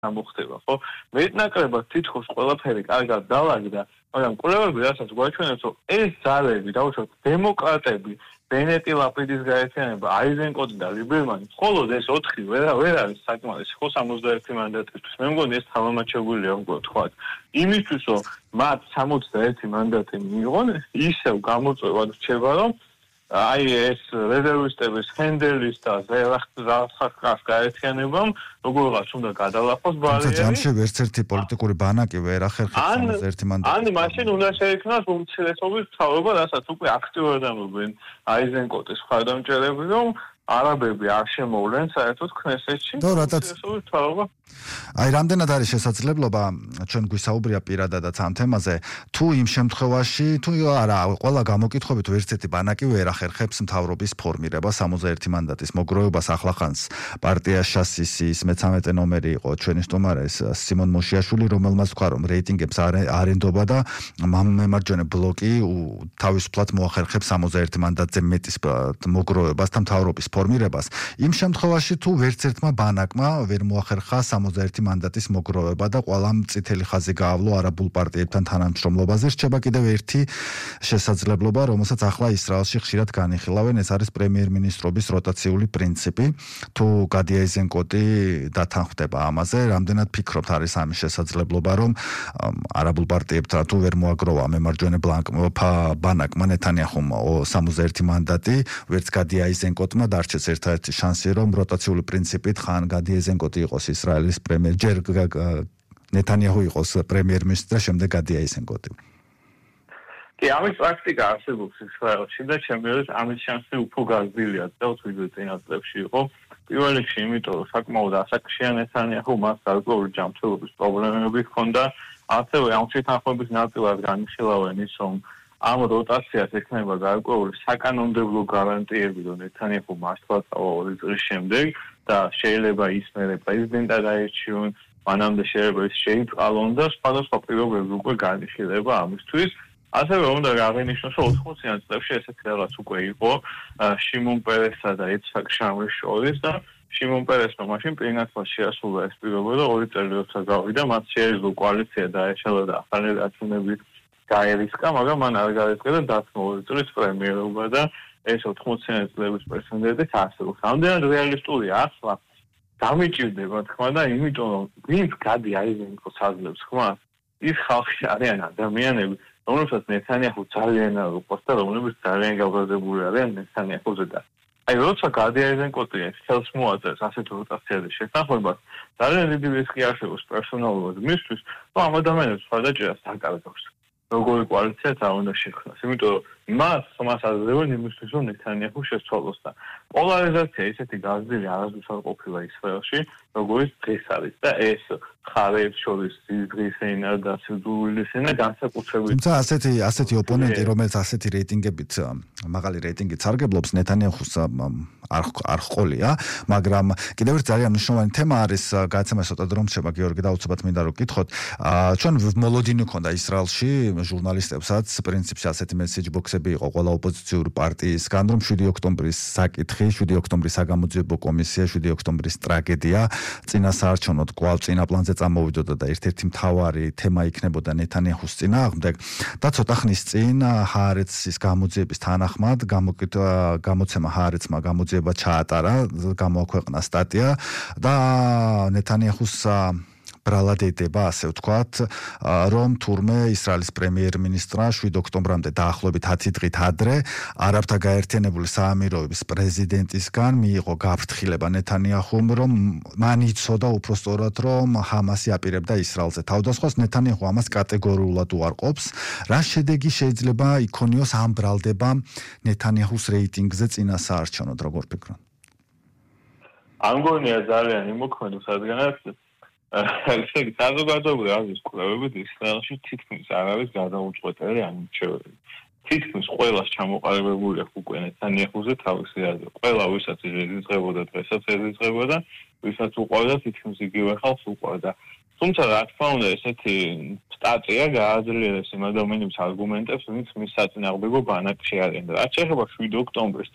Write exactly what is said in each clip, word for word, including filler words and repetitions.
გამოხდება, ხო? მეტნაკლებად თითქოს ყველაფერი კარგად დავაგდა, მაგრამ კვლევები რასაც გვაჩვენებს, რომ ეს ძალები, დაუშვათ დემოკრატები, ბენეტი ლაპიდის გაერთიანება, აიზენკოტი და ლიბერმანი, მხოლოდ ეს ოთხი ვერ ვერ არის საკმარისი, ხო სამოცდაერთი მანდატისთვის. მე მგონი ეს თავამაჩებულია უკვე თქვათ. იმისთვის, რომ მათ სამოცდაერთი მანდატი მიიღონ, ისევ გამოწვევად რჩება, რომ აი ეს რეზერვისტების ჰენდელის და ზელახტას გაერთიანებამ როგორღაც უნდა გადალახოს ბარიერი. ჯამში ერთ-ერთი პოლიტიკური ბანაკი ვერ ახერხებს სამოცდაერთი მანდატი. ან მაშინ უნდა შეიქმნას უმცირესობის მთავრობა, რასაც უკვე აქტიურად ამბობენ აიზენკოტის მხარდამჭერები, რომ არაბები არ შემოვლენ საერთოდ ქნესეთში. და რატაც მთავრობა აი რამდენად არის შესაძლებლობა ჩვენ გვისაუბრია პირადადაც ამ თემაზე თუ იმ შემთხვევაში თუ არა ყველა გამოკითხვებით ერთ-ერთი ბანაკი ვერ ახერხებს მთავრობის ფორმირებას სამოცდაერთი მანდატის მოგროვებას ახლახანს პარტია შასისის მეცამეტე ნომერი იყო ჩვენი სტუმარეს სიმონ მოშიაშვილი რომელმაც თქვა რომ რეიტინგებს არ ენდობა და მემარჯვენე ბლოკი თავისუფლად მოახერხებს სამოცდაერთი მანდატზე მეტის მოგროვებას და მთავრობის ფორმირებას იმ შემთხვევაში თუ ვერც ერთმა ბანაკმა ვერ მოახერხა სამოცდაერთი მანდატის მოგროვება და ყველამ წითელი ხაზი გაავლო არაბულ პარტიებთან თანამშრომლობაზე რჩება კიდევ ერთი შესაძლებლობა რომელსაც ახლა ისრაელში ხშირად განიხილავენ ეს არის პრემიერ-მინისტრობის როტაციული პრინციპი თუ გადი აიზენკოტი დათანხმდება ამაზე რამდენად ფიქრობთ არის ამის შესაძლებლობა რომ არაბულ პარტიებთან თუ ვერ მოაგროვა მემარჯვენე ბანაკმა ნეთანიაჰუმ სამოცდაერთი მანდატი ვერც გადი აიზენკოტმა დარჩეს ერთ-ერთი შანსი რომ როტაციული პრინციპით ხან გადი აიზენკოტი იყოს ისრაელის პრემიერ ჯერ ნეთანიაჰუ იყოს პრემიერ-მინისტრი და შემდეგ გადი აიზენკოტი. კი, ამის პრაქტიკა არსებობს ისრაელში და ჩემთვის ამის შანსი უფრო გაზრდილია და თვითონ წინა წლებში იყო. პირველ რიგში იმიტომ რომ საკმაოდ ასაკშია ნეთანიაჰუ მას გარკვეული ჯანმრთელობის პრობლემები ჰქონდა, ასევე ამ შეთანხმების ნაწილად განიხილავენ ის რომ ამ როტაციას ექნება გარკვეული საკანონმდებლო გარანტიები რომ ნეთანიაჰუ მართლაც ორი წლის შემდეგ და შეიძლება ის მერე პრეზიდენტად აირჩიონ, მანამდე შეიძლება ის შეიწყალონ და სხვადასხვა პირობები უკვე განიხილება ამისთვის. ასევე უნდა აღინიშნოს, რომ ოთხმოციან წლებში ესეთი რაღაც უკვე იყო შიმონ პერესსა და იცხაკ შამრის შორის და შიმონ პერესმა მაშინ პირნათლად შეასრულა ეს პირობა და ორი წელი როცა გავიდა, მათ შეეძლო კოალიცია დაეშალა და ახალი დათუნები გაერისკა, მაგრამ მან არ გაერისკა და დათმო ორი წლის პრემიერობა და ეს ოთხმოციანი წლების პრეზიდენტის არსებობს. რამდენად რეალისტურია ახლა დამიჭირდება თქმა და იმიტომ რომ ვინც გადი აიზენკოტს აძლევს ხმას, ის ხალხი არიან ადამიანები, რომელსაც ნეთანიაჰუ ძალიან არ უყვარს და რომლებიც ძალიან გაბრაზებული არიან ნეთანიაჰუზე და აი როცა გადი აიზენკოტი ხელს მოაწერს ასეთ როტაციაზე შეთანხმებას, ძალიან დიდი რისკი არსებობს პერსონალურად მისთვის, რომ ამ ადამიანებს მხარდაჭერას დაკარგავს. როგორი კოალიცია და უნდა შექმნას. იმიტომ რომ მას ხმას აძლევენ იმისთვის რომ ნეთანიაჰუ შეცვალოს და პოლარიზაცია ისეთი გაზრდილი არასდროს არ ყოფილა ისრაელში, როგორც დღეს არის და ეს მხარეებს შორის ზიზღის ენა და სიძულვილის ენა განსაკუთრებით. თუმცა ასეთი ასეთი ოპონენტი, რომელიც ასეთი რეიტინგებით მაღალი რეიტინგით სარგებლობს ნეთანიაჰუს არ არ ყოლია, მაგრამ კიდევ ერთ ძალიან მნიშვნელოვანი თემა არის გადაცემა ცოტა დრო რჩება გიორგი და უცბად მინდა რომ გითხოთ. ჩვენ მოლოდინი ქონდა ისრაელში ჟურნალისტებსაც პრინციპში ასეთი მესეჯ ბოქსები იყო ყველა ოპოზიციური პარტიისგან რომ შვიდი ოქტომბრის საკითხი, შვიდი ოქტომბრის საგამოძიებო კომისია, შვიდი ოქტომბრის ტრაგედია წინასაარჩევნოდ კვლავ წინა პლანზე წამოვიდოდა და ერთ-ერთი მთავარი თემა იქნებოდა ნეთანიაჰუს წინააღმდეგ და ცოტა ხნის წინ ჰაარეცის გამოძიების თანახმად გამოცემა ჰაარეცმა გამოძიება ჩაატარა, გამოაქვეყნა სტატია და ნეთანიაჰუს ბრალადედება, ასე ვთქვათ, რომ თურმე ისრაელის პრემიერ-მინისტრმა შვიდ ოქტომბრამდე დაახლოებით ათი დღით ადრე არაბთა გაერთიანებული საამიროების პრეზიდენტისგან მიიღო გაფრთხილება ნეთანიაჰუმ, რომ მან იცოდა უпростоრად, რომ ჰამასი აპირებდა ისრაელზე თავდასხმას, ნეთანიაჰუ ამას კატეგორიულად უარყოფს. რა შედეგი შეიძლება იქონიოს ამ ბრალდებამ ნეთანიაჰუს რეიტინგზე წინასაარჩევნოდ, როგორ ფიქრობთ? ამგონია ძალიან იმოქმედოს, რადგანაც ესე იგი საზოგადოებრივი აზრის კვლევებით ისრაელში თითქმის არ არის გადაუწყვეტელი არჩევნები. თითქმის ყველას ჩამოყალიბებული აქვს უკვე ნეთანიაჰუზე თავისი აზრი. ყველა ვისაც ეზიზღებოდა დღესაც ეზიზღებოდა, ვისაც უყვარდა თითქმის იგივე ხალხს უყვარდა. თუმცა რა თქმა უნდა ესეთი სტატია გააძლიერებს იმ ადამიანების არგუმენტებს, ვინც მის საწინააღმდეგო ბანაკში არიან. რაც შეეხება შვიდ ოქტომბრის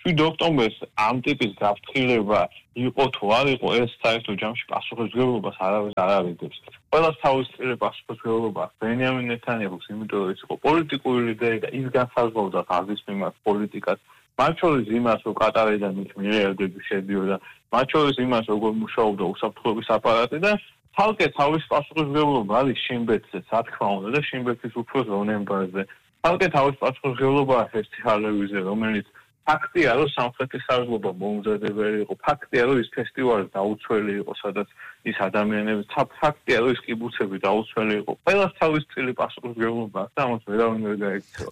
შვიდ ოქტომბერს ამ ტიპის გაფრთხილება იყო თუ არ იყო, ეს საერთო ჯამში პასუხისმგებლობას არავის არ არიდებს. ყველას თავისუფლება პასუხისმგებლობა ბენიამინ ნეთანიაჰუს, იმიტომ რომ ის იყო პოლიტიკური ლიდერი და ის განსაზღვრავდა ღაზის მიმართ პოლიტიკას. მათ შორის იმას, რომ კატარიდან ის მილიარდები შედიოდა, მათ შორის იმას, როგორ მუშაობდა უსაფრთხოების აპარატი და თალკე თავის პასუხისმგებლობა არის შინბეთზე, რა თქმა უნდა და შინბეთის უფროს რონენბარზე. თალკე თავის პასუხისმგებლობა ფესტივალებზე, რომელიც ფაქტია, რომ სამხრეთის სარგლობა მომზადებელი იყო, ფაქტია, რომ ის ფესტივალი დაუცველი იყო, სადაც ის ადამიანები, ფაქტია, რომ ის კიბუცები დაუცველი იყო. ყველას თავის წილი პასუხისმგებლობა აქვს და ამას ვერავინ ვერ გაიქცევა.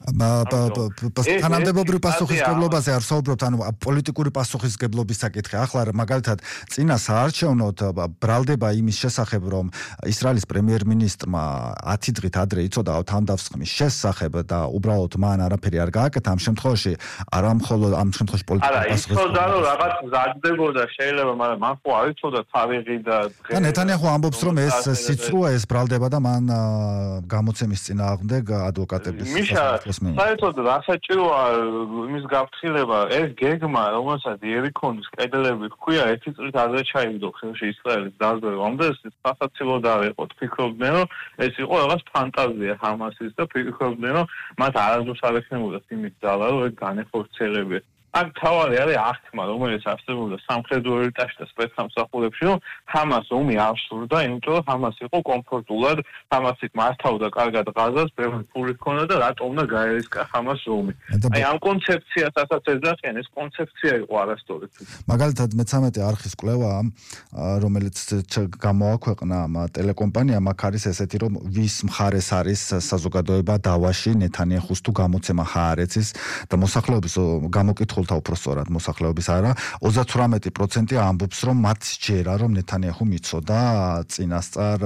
თანამდებობრივ პასუხისმგებლობაზე არ ვსაუბრობთ, ანუ პოლიტიკური პასუხისმგებლობის საკითხი. ახლა მაგალითად, წინა საარჩევნოდ ბრალდება იმის შესახებ, რომ ისრაელის პრემიერ-მინისტრმა ათი დღით ადრე იცოდა თავდასხმის შესახებ და უბრალოდ მან არაფერი არ გააკეთა ამ შემთხვევაში, არა მხოლოდ ამ შემთხვევაში პოლიტიკური პასუხისმგებლობა. არა, იცოდა რომ რაღაც მზადდებოდა, შეიძლება, მაგრამ მან ხო არ იცოდა თარიღი და და ნეთანიაჰუ ამბობს, რომ ეს სიცრუა ეს ბრალდება და მან გამოცემის წინააღმდეგ ადვოკატების სახელმწიფოს საერთოდ რასაჭიროა იმის გაფრთხილება, ეს გეგმა, რომელსაც იერიქონის კედლები ჰქვია, ერთი წლით ადრე ჩაიგდო ხელში ისრაელის დაზვერვამდე, ეს სასაცილოდ არ იყო. ფიქრობდნენ, რომ ეს იყო რაღაც ფანტაზია ჰამასის და ფიქრობდნენ, რომ მათ არასდროს არ ექნებოდა იმის ძალა, რომ ეს განეხორციელებიათ. აქ თავარი არის აღთქმა, რომელიც არსებობდა სამხედრო ელიტაში და სპეცსამსახურებში, რომ ჰამას ომი არ სურდა, იმიტომ რომ ჰამას იყო კომფორტულად, ჰამასი მართავდა კარგად ღაზას, ბევრი ფული ჰქონდა და რატომ უნდა გაერისკა ჰამას ომი. აი ამ კონცეფციასაც ეძახიან, ეს კონცეფცია იყო არასწორი. მაგალითად მეთერთმეტე არხის კვლევა, რომელიც გამოაქვეყნა ტელეკომპანიამ, აქ არის ესეთი, რომ ვის მხარეს არის საზოგადოება დავაში ნეთანიაჰუს თუ გამოცემა ჰაარეცის და მოსახლეობის გამოკითხულ უпростоრად მოსახლეობის არა ოცდათვრამეტი პროცენტი ამბობს რომ მათ სჯერა რომ ნეთანიაჰუ მიცოდა წინასწარ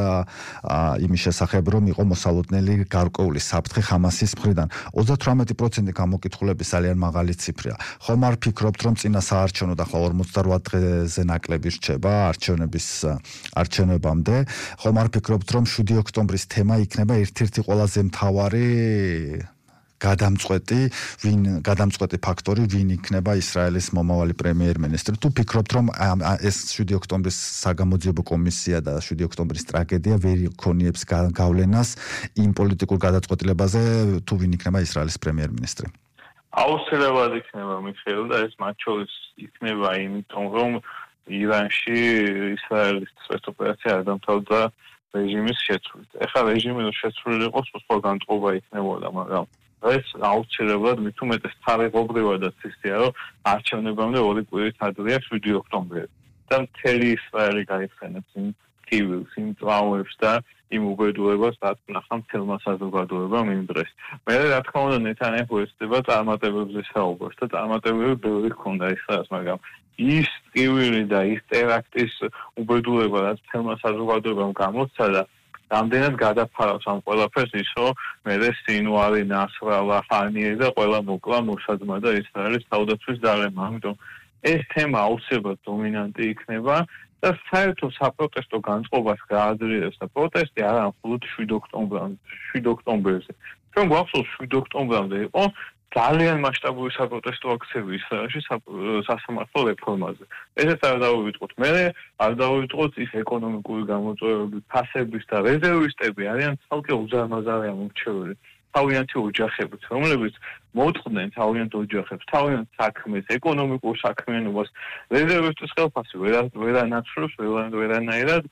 იმის შესახებ რომ იყო მოსალოდნელი გარკვეული საფრთხე ჰამასის მხრიდან ოცდათვრამეტი პროცენტი გამოკითხულების ძალიან მაღალი ციფრია ხომ არ ფიქრობთ რომ წინა საარჩევნოდ ახლა ორმოცდარვათ დღეზე ნაკლები რჩება არჩევნების არჩევნებამდე ხომ არ ფიქრობთ რომ შვიდი ოქტომბრის თემა იქნება ერთ-ერთი ყველაზე მთავარი გადამწყვეტი ვინ გადამწყვეტი ფაქტორი ვინ იქნება ისრაელის მომავალი პრემიერ-მინისტრი თუ ფიქრობთ რომ ეს შვიდი ოქტომბრის საგამოძიებო კომისია და შვიდი ოქტომბრის ტრაგედია ვერ იქონიებს გავლენას იმ პოლიტიკურ გადაწყვეტილებაზე თუ ვინ იქნება ისრაელის პრემიერ-მინისტრი აუცილებლად იქნება მიხეილ და ეს მათ შორის იქნება იმიტომ რომ ირანში ისრაელის სპეცოპერაცია არ დამთავრდა რეჟიმის შეცვლით ეხლა რეჟიმი რო შეცვლილი იყოს სხვა განწყობა იქნებოდა მაგრამ ეს აუცილებლად მით უმეტეს თარიღობრივადაც ისეა, რომ არჩევნებამდე ორი კვირით ადრეა შვიდი ოქტომბერი. და მთელი ისრაელი გაიხსენებს იმ ტივს, იმ ტრავმებს და იმ უბედურებას, რაც ნახა მთელმა საზოგადოებამ იმ დღეს. მე რა თქმა უნდა ნეთანიაჰუ ეცდება წარმატებებზე საუბრობს და წარმატებები ბევრი ჰქონდა ისრაელს, მაგრამ ის ტივილი და ის ტერაქტის უბედურება, რაც მთელმა საზოგადოებამ გამოსცა და რამდენად გადაფარავს ამ ყველაფერს ის, რომ მერე სინვარი, ნასრალა, ხანიე და ყველა მოკლა მოსადმა და ისრაელის თავდაცვის ძალებმა. ამიტომ ეს თემა აუცილებლად დომინანტი იქნება და საერთო საპროტესტო განწყობას გააძლიერებს და პროტესტი არა მხოლოდ შვიდ ოქტომბერზე. ჩვენ გვახსოვს შვიდ ოქტომბერამდე იყო ძალიან მასშტაბური საპროტესტო აქციები ისრაელში სასამართლო რეფორმაზე. ესეც არ დავივიწყოთ. მე არ დავივიწყოთ ის ეკონომიკური გამოწვევები, ფასების და რეზერვისტები არიან ცალკე უზარმაზარია მომრჩეველი. თავიანთი ოჯახებით, რომლებიც მოწყდნენ თავიანთ ოჯახებს, თავიანთ საქმეს, ეკონომიკურ საქმიანობას, რეზერვისტის ხელფასი ვერანაცვლებს, ვერანაირად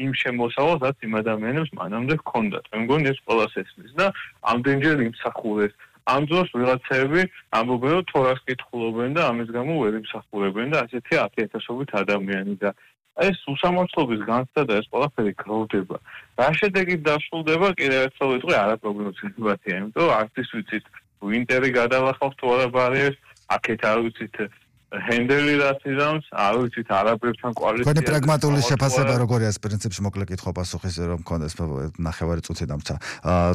იმ შემოსავალს, რაც იმ ადამიანებს მანამდე ჰქონდათ. მე მგონი ეს ყველას ესმის და ამდენჯერ იმსახურეს ამ დროს ვიღაცები ამბობენ რომ თორას კითხულობენ და ამის გამო ვერ იმსახურებენ და ასეთი ათიათასობით ადამიანი და ეს უსამართლობის განცდა და ეს ყველაფერი გროვდება. რა შედეგით დასრულდება კიდევ ერთხელ ვიტყვი არაპროგნოზირებადია, იმიტომ რომ არც ის ვიცით ვინტერი გადალახავს თუ არა ბარიერს, აქეთ არ ვიცით ჰენდელი რაც იზამს, არ ვიცით არაბებთან კოალიცია. თქვენი პრაგმატული შეფასება როგორია ეს პრინციპში მოკლე კითხვა პასუხის რომ მქონდეს ნახევარი წუთი დამცა.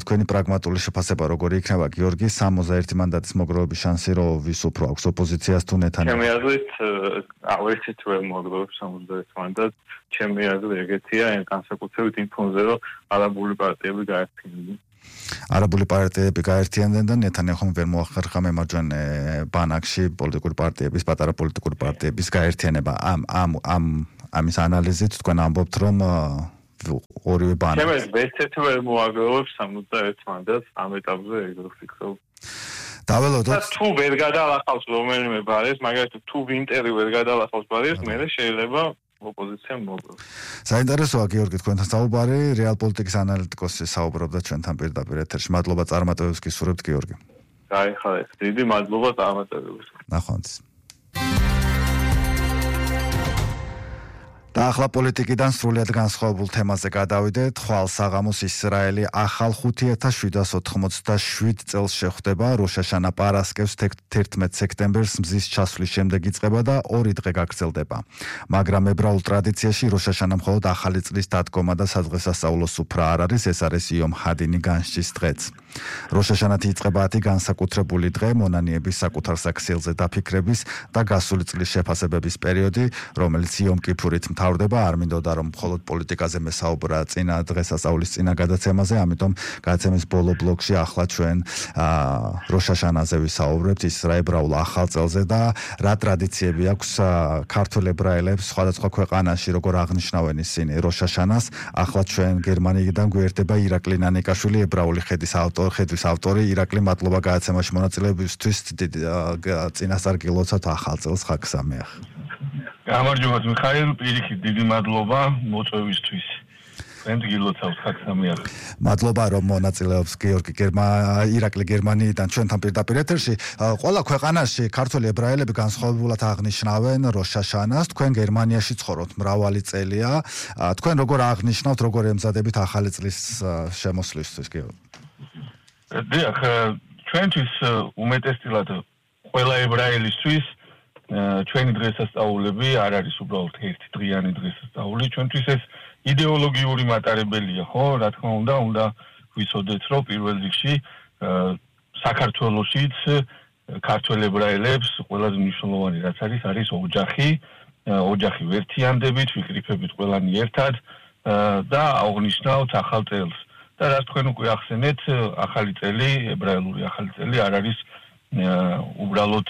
თქვენი პრაგმატული შეფასება როგორი იქნება გიორგი სამოცდაერთი მანდატის მოგროვების შანსი რომ ვის უფრო აქვს ოპოზიციას თუ ნეთანიაჰუს? ჩემი აზრით ავერსით ვერ მოგროვებს სამოცდაერთი მანდატს. ჩემი აზრი ეგეთია, განსაკუთრებით იმ ფონზე რომ არაბული პარტიები გაერთიანდნენ. არაბული პარტიები გაერთიანდნენ და ნეთანიაჰუმ ვერ მოახერხა მემარჯვენე ბანაკში პოლიტიკური პარტიების, პატარა პოლიტიკური პარტიების გაერთიანება. ამ ამ ამ ამის ანალიზით თქვენ ამბობთ, რომ ორივე ბანაკი ჩემს ვეცეთ ვერ მოაგროვებს სამოცდაერთ მანდატს ამ ეტაპზე ეგრე ვფიქრობ. დაველოდოთ. თუ ვერ გადალახავს რომელიმე ბარეს, მაგალითად თუ ვინტერი ვერ გადალახავს ბარეს, მე შეიძლება ოპოზიციამ მოგოს. საინტერესოა გიორგი თქვენთან საუბარი, რეალ პოლიტიკის ანალიტიკოსი საუბრობდა ჩვენთან პირდაპირ ეთერში. მადლობა წარმატებებს გისურვებთ გიორგი. გაიხარეთ. დიდი მადლობა წარმატებებს. ნახვამდის. და ახლა პოლიტიკიდან სრულიად განსხვავებულ თემაზე გადავიდეთ. ხვალ საღამოს ისრაელი ახალ ხუთი ათას შვიდას ოცდაშვიდ წელს შეხვდება. როშაშანა პარასკევს თერთმეტ სექტემბერს მზის ჩასვლის შემდეგ იწყება და ორი დღე გაგრძელდება. მაგრამ ებრაულ ტრადიციაში როშაშანა მხოლოდ ახალი წლის დადგომა და სადღესასწაულო სუფრა არ არის, ეს არის იომ ჰადინი განსჯის დღეც. როშაშანათი იწყება ათი განსაკუთრებული დღე, მონანიების საკუთარ საქციელზე დაფიქრების და გასული წლის შეფასებების პერიოდი, რომელიც იომ კიფურით მთავრდება. არ მინდოდა რომ მხოლოდ პოლიტიკაზე მესაუბრა წინა დღესასწაულის წინა გადაცემაზე, ამიტომ გადაცემის ბოლო ბლოკში ახლა ჩვენ როშაშანაზე ვისაუბრებთ ისრაებრაულ ახალ წელზე და რა ტრადიციები აქვს ქართველ ებრაელებს სხვადასხვა ქვეყანაში, როგორ აღნიშნავენ ისინი როშაშანას. ახლა ჩვენ გერმანიიდან გვერდება ირაკლი ნანიკაშვილი, ებრაული ხედის ავტორი, ხედვის ავტორი. ირაკლი, მადლობა გადაცემაში მონაწილეობისთვის. წინასწარ გილოცავთ ახალ წელს, ხაგ სამეახ. გამარჯობა მიხაილ, პირიქით დიდი მადლობა მოწვევისთვის. თქვენ გილოცავთ ხაგ სამეახ. მადლობა რომ მონაწილეობს გიორგი ირაკლი გერმანიიდან ჩვენთან პირდაპირ ეთერში. ყველა ქვეყანაში ქართველი ებრაელები განსხვავებულად აღნიშნავენ როშაშანას. თქვენ გერმანიაში ცხოვრობთ მრავალი წელია. თქვენ როგორ აღნიშნავთ, როგორ ემზადებით ახალი წლის შემოსვლისთვის, გიორგი? დიახ, ჩვენთვის უმეტესწილად ყველა ებრაელისთვის ჩვენი დღესასწაულები არ არის უბრალოდ ერთი დღიანი დღესასწაული, ჩვენთვის ეს იდეოლოგიური მატარებელია, ხო? რა თქმა უნდა, უნდა ვიცოდეთ, რომ პირველ რიგში საქართველოშიც ქართველ ებრაელებს ყველაზე მნიშვნელოვანი რაც არის, არის ოჯახი, ოჯახი ვერთიანდებით, ვიკრიფებით ყველანი ერთად და აღნიშნავთ ახალ წელს. და რაც თქვენ უკვე ახსენეთ, ახალი წელი, ებრაელური ახალი წელი არ არის უბრალოდ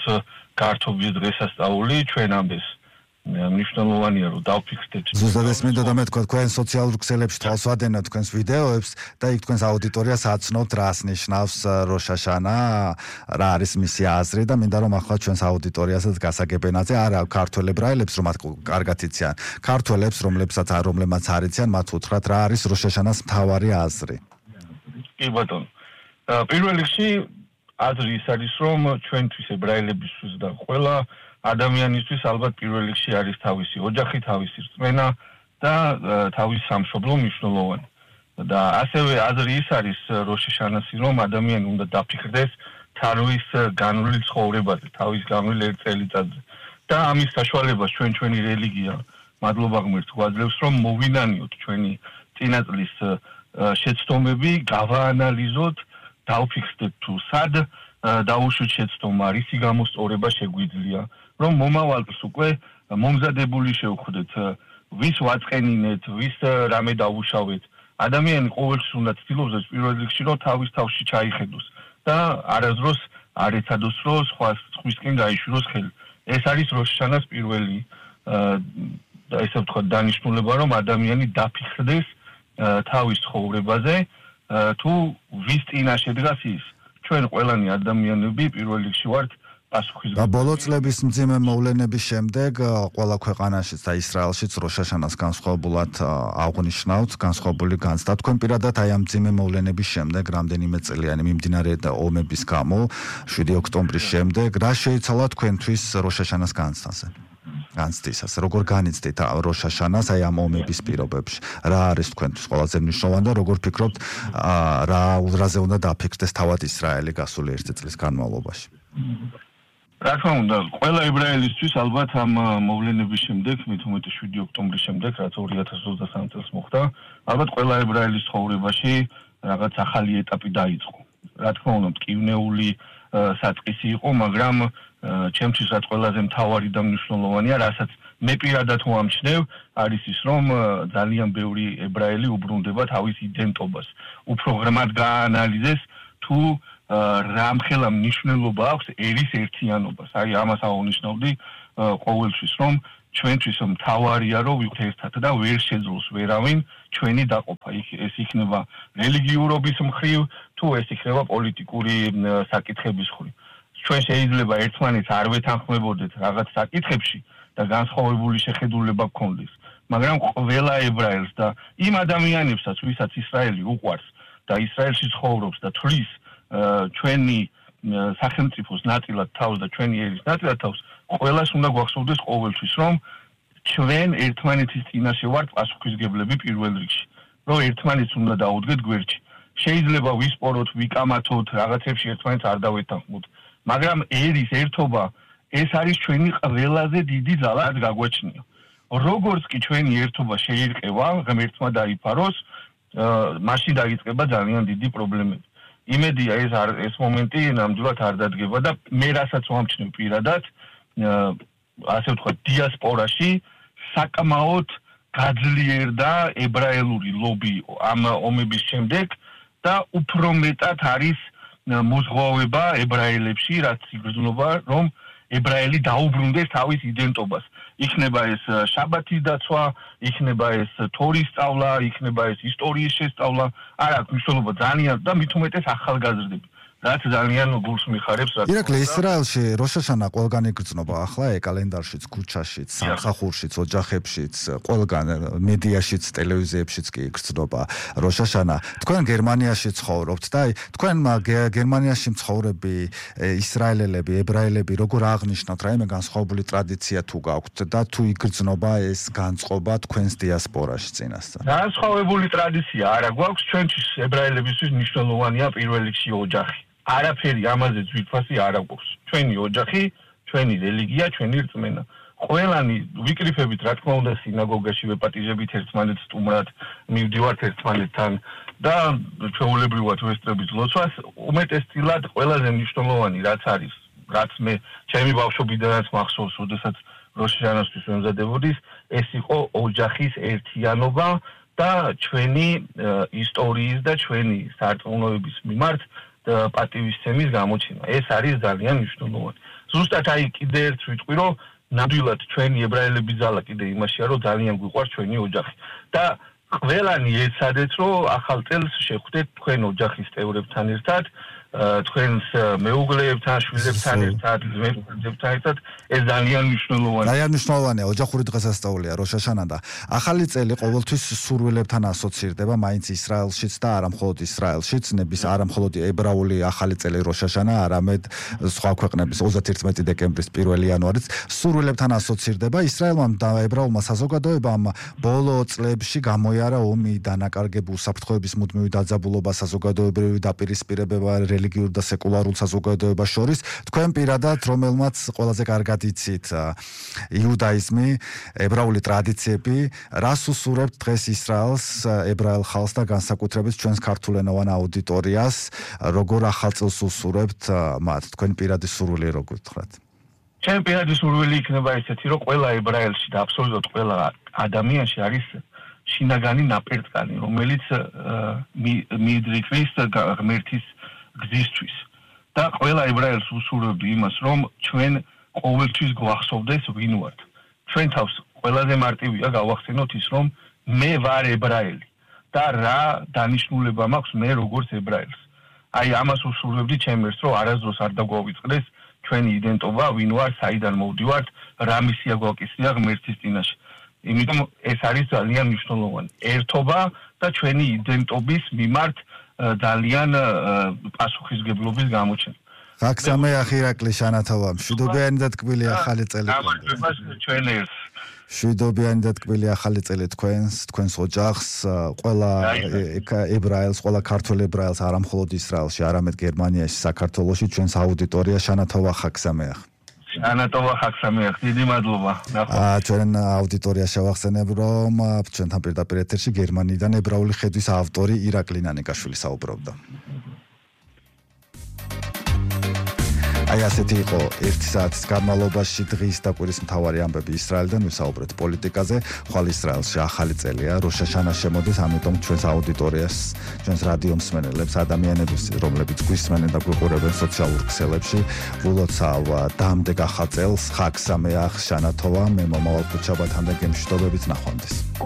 გართობის დღესასწაული, ჩვენამდე მნიშვნელოვანია რომ დავფიქრდეთ. ზუსტად ეს მინდოდა მე თქვა, თქვენ სოციალურ ქსელებში თვალს ვადენთ თქვენს ვიდეოებს და იქ თქვენს აუდიტორიას აცნობთ რას ნიშნავს როშაშანა, რა არის მისი აზრი და მინდა რომ ახლა ჩვენს აუდიტორიასაც გასაგებენაზე, არა ქართველ ებრაელებს რომ მათ კარგად იციან, ქართველებს რომლებსაც რომლებმაც არ იციან, მათ უთხრათ რა არის როშაშანას მთავარი აზრი. კი ბატონო. პირველ რიგში აზრი ის არის რომ ჩვენთვის ებრაელებისთვის და ყველა ადამიანისთვის ალბათ პირველ რიგში არის თავისი ოჯახი, თავისი რწმენა და თავისი სამშობლო მნიშვნელოვანი. და ასევე აზრი ის არის როშაშანასი რომ ადამიანი უნდა დაფიქრდეს თავის განვლილ ცხოვრებაზე, თავის განვლილ ერთ წელიწადზე. და ამის საშუალებას ჩვენ ჩვენი რელიგია, მადლობა ღმერთს, გვაძლევს რომ მოვინანიოთ ჩვენი წინაწლის შეცდომები, გავაანალიზოთ, დავფიქრდეთ თუ სად დაუშვით შეცდომა, რისი გამოსწორება შეგვიძლია, რომ მომავალს უკვე მომზადებული შევხვდეთ, ვის ვაწყენინეთ, ვის რამე დაუშავეთ. ადამიანი ყოველთვის უნდა ცდილობს ეს პირველ რიგში რომ თავის თავში ჩაიხედოს და არასდროს არ ეცადოს რომ სხვა სხვისკენ გაიშვიროს ხელი. ეს არის როშაშანას პირველი და ესე ვთქვათ დანიშნულება რომ ადამიანი დაფიქრდეს თავის ცხოვრებაზე თუ ვის წინაშე დგას ის. ჩვენ ყველანი ადამიანები პირველ რიგში ვართ პასუხისმგებელი. და ბოლო წლების მძიმე მოვლენების შემდეგ ყველა ქვეყანაშიც და ისრაელშიც როშაშანას განსხვავებულად აღნიშნავთ, განსხვავებული განცდა. თქვენ პირადად აი ამ მძიმე მოვლენების შემდეგ, რამდენიმე წლიანი მიმდინარე ომების გამო, შვიდი ოქტომბრის შემდეგ, რა შეიცვალა თქვენთვის როშაშანას განცდაზე? განცდისას, როგორ განიცდით როშაშანას აი ამ ომების პირობებში? რა არის თქვენთვის ყველაზე მნიშვნელოვანი და როგორ ფიქრობთ, რა რაზე უნდა დაფიქრდეს თავად ისრაელი გასული ერთი წლის განმავლობაში? რა თქმა უნდა, ყველა ებრაელისთვის ალბათ ამ მოვლენების შემდეგ, მით უმეტეს შვიდი ოქტომბრის შემდეგ, რაც ორი ათას ოცდასამი წელს მოხდა, ალბათ ყველა ებრაელის ცხოვრებაში რაღაც ახალი ეტაპი დაიწყო. რა თქმა უნდა, მტკივნეული საწყისი იყო, მაგრამ ჩემთვის რაც ყველაზე მთავარი და მნიშვნელოვანია, რასაც მე პირადად ვამჩნევ არის ის რომ ძალიან ბევრი ებრაელი უბრუნდება თავის იდენტობას. უფრო ღრმად გაანალიზეს თუ რამხელა მნიშვნელობა აქვს ერის ერთიანობას. აი ამას აღნიშნავდი ყოველთვის რომ ჩვენთვის მთავარია რომ ვიყოთ ერთად და ვერ შეძლოს ვერავინ ჩვენი დაყოფა. ეს იქნება რელიგიურობის მხრივ თუ ეს იქნება პოლიტიკური საკითხების მხრივ. ჩვენ შეიძლება ერთმანეთს არ ვეთანხმებოდეთ რაღაც საკითხებში და განსხვავებული შეხედულება გქონდეს, მაგრამ ყველა ებრაელს და იმ ადამიანებსაც, ვისაც ისრაელი უყვარს და ისრაელში ცხოვრობს და თვლის ჩვენი სახელმწიფოს ნაწილად თავს და ჩვენი ერის ნაწილად თავს, ყველას უნდა გვახსოვდეს ყოველთვის, რომ ჩვენ ერთმანეთის წინაშე ვართ პასუხისმგებლები პირველ რიგში, რომ ერთმანეთს უნდა დაუდგეთ გვერდში. შეიძლება ვისპოროთ, ვიკამათოთ, რაღაცებში ერთმანეთს არ დავეთანხმოთ, მაგრამ ერის ერთობა ეს არის ჩვენი ყველაზე დიდი ძალა გაგვაჩნია. როგორც კი ჩვენი ერთობა შეირყევა, ღმერთმა დაიფაროს, მაშინ დაიწყება ძალიან დიდი პრობლემები. იმედია ეს ეს მომენტი ნამდვილად არ დადგება და მე რასაც ვამჩნევ პირადად, ასე ვთქვათ, დიასპორაში საკმაოდ გაძლიერდა ებრაელური ლობი ამ ომების შემდეგ და უფრო მეტად არის მოზღვავება ებრაელებში, რაც იგრძნობა, რომ ებრაელი დაუბრუნდეს თავის იდენტობას. იქნება ეს შაბათის დაცვა, იქნება ეს თორის სწავლა, იქნება ეს ისტორიის შესწავლა, არ აქვს მნიშვნელობა ძალიან და მით უმეტეს ახალგაზრდები. რაც ძალიან გულს მიხარებს რა. ირაკლი ისრაელში როშაშანა ყველგან იგრძნობა ახლა კალენდარშიც, ქუჩაშიც, სამსახურშიც, ოჯახებშიც, ყველგან მედიაშიც, ტელევიზიებშიც კი იგრძნობა როშაშანა. თქვენ გერმანიაში ცხოვრობთ და აი თქვენ გერმანიაში მცხოვრები ისრაელელები, ებრაელები როგორ აღნიშნავთ რაიმე განსხვავებული ტრადიცია თუ გაქვთ და თუ იგრძნობა ეს განწყობა თქვენს დიასპორაში წინასწარ? განსხვავებული ტრადიცია არა გვაქვს, ჩვენთვის ებრაელებისთვის მნიშვნელოვანია პირველ რიგში ოჯახი. არაფერი ამაზე ძვირფასი არ აქვს. ჩვენი ოჯახი, ჩვენი რელიგია, ჩვენი რწმენა. ყველანი ვიკრიფებით, რა თქმა უნდა, სინაგოგაში ვეპატიჟებით ერთმანეთს სტუმრად, მივდივართ ერთმანეთთან და ჩვეულებრივად ვესწრებით ლოცვას. უმეტესწილად ყველაზე მნიშვნელოვანი რაც არის, რაც მე ჩემი ბავშვობიდანაც მახსოვს, როდესაც როშაშანასთვის ვემზადებოდი, ეს იყო ოჯახის ერთიანობა და ჩვენი ისტორიის და ჩვენი სარწმუნოების მიმართ პატივისცემის გამოჩენა. ეს არის ძალიან მნიშვნელოვანი. ზუსტად აი კიდე ერთ ვიტყვი, რომ ნამდვილად ჩვენი ებრაელების ძალა კიდე იმაშია, რომ ძალიან გვიყვარს ჩვენი ოჯახი. და ყველანი ეცადეთ, რომ ახალ წელს შეხვდეთ თქვენ ოჯახის წევრებთან ერთად, თქვენს მეუღლეებთან, შვილებთან ერთად, ძმებთან ერთად, ეს ძალიან მნიშვნელოვანია. ძალიან მნიშვნელოვანია ოჯახური დღესასწაულია როშაშანა და ახალი წელი ყოველთვის სურვილებთან ასოცირდება, მაინც ისრაელშიც და არა მხოლოდ ისრაელშიც, ნების არა მხოლოდ ებრაული ახალი წელი როშაშანა, არამედ სხვა ქვეყნების ოცდაერთი დეკემბრის პირველი იანვარიც სურვილებთან ასოცირდება. ისრაელმა და ებრაულმა საზოგადოებამ ბოლო წლებში გამოიარა ომი, დანაკარგები, უსაფრთხოების მუდმივი დაძაბულობა, საზოგადოებრივი დაპირისპირებება რელიგიურ და სეკულარულ საზოგადოებას შორის. თქვენ პირადად, რომელმაც ყველაზე კარგად იცით იუდაიზმი, ებრაული ტრადიციები, რას უსურებთ დღეს ისრაელს, ებრაელ ხალხს და განსაკუთრებით ჩვენს ქართულენოვან აუდიტორიას, როგორ ახალ წელს უსურებთ მათ? თქვენ პირადი სურვილი როგორ გთხრათ? ჩემი პირადი სურვილი იქნება ესეთი, რომ ყველა ებრაელში და აბსოლუტურად ყველა ადამიანში არის შინაგანი ნაპერწკალი, რომელიც მიიდრიქვის ღმერთის გზისთვის. და ყველა ებრაელს უსურვებდი იმას, რომ ჩვენ ყოველთვის გვახსოვდეს ვინ ვართ. ჩვენ თავს ყველაზე მარტივია გავახსენოთ ის, რომ მე ვარ ებრაელი და რა დანიშნულება მაქვს მე როგორც ებრაელს. აი ამას უსურვებდი ჩემს, რომ არასდროს არ დაგვავიწყდეს ჩვენი იდენტობა, ვინ ვარ, საიდან მოვდივართ, რა მისია გვაკისრია ღმერთის წინაშე. იმიტომ ეს არის ძალიან მნიშვნელოვანი. ერთობა და ჩვენი იდენტობის მიმართ ძალიან პასუხისგებლობის გამოჩენა. ხაგსამეახ ირაკლი შანათავა, მშვიდობიანი და ტკბილი ახალი წელი. გამარჯვებას ჩვენ ერთს. მშვიდობიანი და ტკბილი ახალი წელი თქვენს, თქვენს ოჯახს, ყველა ებრაელს, ყველა ქართველ ებრაელს, არა მხოლოდ ისრაელში, არამედ გერმანიაში, საქართველოში, ჩვენს აუდიტორია შანათავა ხაგსამეახ. შანათავა ხაგსამეახ, დიდი მადლობა. აა ჩვენ აუდიტორია შევახსენებ, რომ ჩვენთან პირდაპირ ეთერში გერმანიიდან ებრაული ხედვის ავტორი ირაკლი ნანიკაშვილი საუბრობდა. აი ასეთი იყო ერთი საათის განმავლობაში დღის და კვირის მთავარი ამბები ისრაელიდან, ვისაუბრეთ პოლიტიკაზე. ხვალ ისრაელში ახალი წელია, როშ ჰაშანა შემოდის, ამიტომ ჩვენს აუდიტორიას, ჩვენს რადიო მსმენელებს, ადამიანებს, რომლებიც გვისმენენ და გვიყურებენ სოციალურ ქსელებში, ვილოცავ დამდეგ ახალ წელს, ხაგ სამეახ, შანათოვა, მე მომავალ ქუჩაბათან და გემშვიდობებით ნახვამდის.